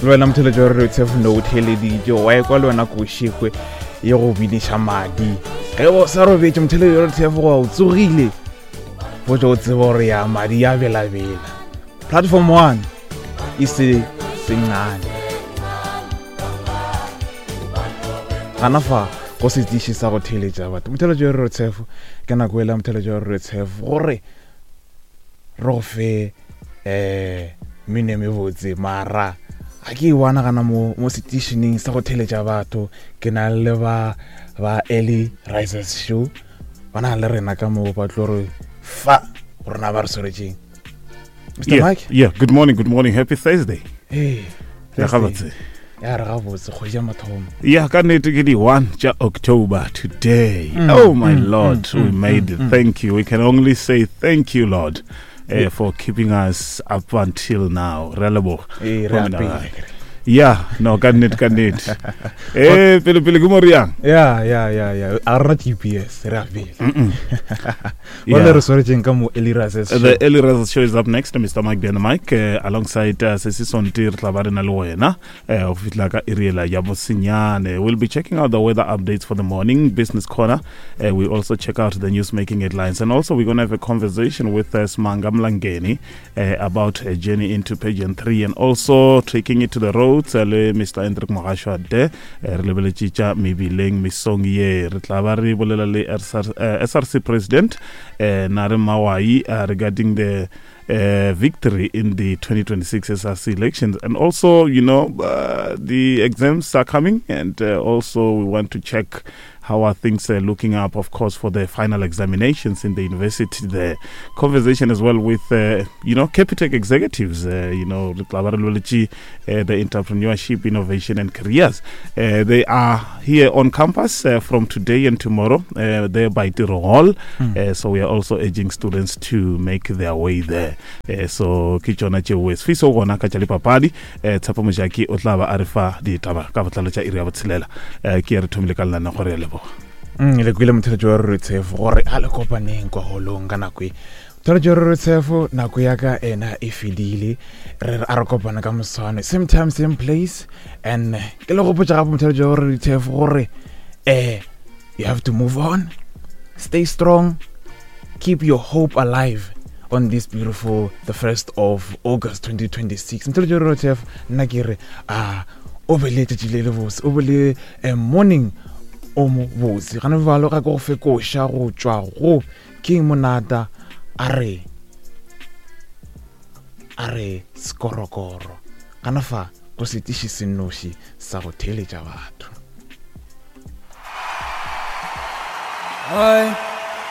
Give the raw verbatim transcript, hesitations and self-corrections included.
Le wena motheletši wa Radio Tshefo no o theeleditše, wa ekwa le wena košekwe ye go biniša madi. Ge o sa robetše motheletši wa Radio Tshefo goba o tsogile, botša o tseba gore ya madi ya belabela. Platform one e se sencane. Gana fa go setiši sa go theeletša batho. Motheletši wa Radio Tshefo, ke nako ela motheletši wa Radio Tshefo gore re go fe eh mmino e mebotse, mara ga ke e bona gana mo mo setišeneng sa go theeletša batho. Ke na le ba ba Early Risers Show, ba na le rena ka mo ba tlo re fa rona ba re swaretšeng. Mister Yeah, Mike? yeah, good morning, good morning. Happy Thursday. Hey, Ya Thursday. gabotse. Ya re gabotse, kgwedi ya mathomo. Yeah, ka nnete ke di one tša October today. Mm, Oh my mm, Lord, mm, we mm, made mm, it. mm. Thank you. We can only say thank you, Lord, uh, Yeah. for keeping us up until now. Re a leboga. Ee, re a Go mena pele. gae. Yeah, no, ka nnete, ka nnete. Eh, pele pele ke mo re yang? Ya, ya, ya, ya. A re na G P S, re a pele. Mm-mm. Ba le Yeah. re swaretšeng ka mo Early Risers Show. The Early Risers Show is up next. Mister Mike Bjana Mike, uh, alongside uh, Sesi Sonti, re tla ba re na le wena, uh, ho fihla ka iri ela ya bosenyane. We'll be checking out the weather updates for the morning, Business Corner. Uh, we also check out the news making headlines. And also we're gonna have a conversation with, uh, Smanga Mlangeni, uh, about a journey into pageant three and also taking it to the roads le Mister Hendrik Mogashwade. Uh, re lebeletše tša mebileng mesong ye. Re tla ba re bolela le S R, uh, S R C President, uh, Nare Mawai, uh, regarding the, uh, victory in the twenty twenty-six S R C elections. And also, you know, uh, the exams are coming, and, uh, also we want to check how are things, uh, looking up, of course, for the final examinations in the university. The conversation as well with, uh, you know, Capitec executives, uh, you know, re tla ba re lebeletše, uh, the entrepreneurship, innovation and careers. Uh, they are here on campus, uh, from today and tomorrow, uh, there by Tiro Hall. Hmm. Uh, so we are also urging students to make their way there. Uh, so ke tšona tšeo. Sifiso gona ka tša dipapadi, uh, Tshepo Mojaki o tla ba a re fa ditaba ka botlalo tša iri ya botshelela. Uh, ke re thomile ka lenaneo gore ya leboga. Mm, le kwele motheletši wa Radio Tshefo gore a le kopaneng kwa holong ka nako e. Motheletši wa Radio Tshefo, nako ya ka ena e fedile. Re re a re kopane ka moswane, same time, same place. And ke le gopotša gape motheletši wa Radio Tshefo gore, eh, you have to move on, stay strong, keep your hope alive on this beautiful the first of August twenty twenty-six. Motheletši wa Radio Tshefo, nna ke re, ah, o be le letšatši le le bose, o be le, eh, morning o mo botse. Gana bjalo ga ke go fe koša go tšwa go King Monada, a re, a re skorokoro. Gana fa go setiši se nnoši sa go theeletša batho. Hi.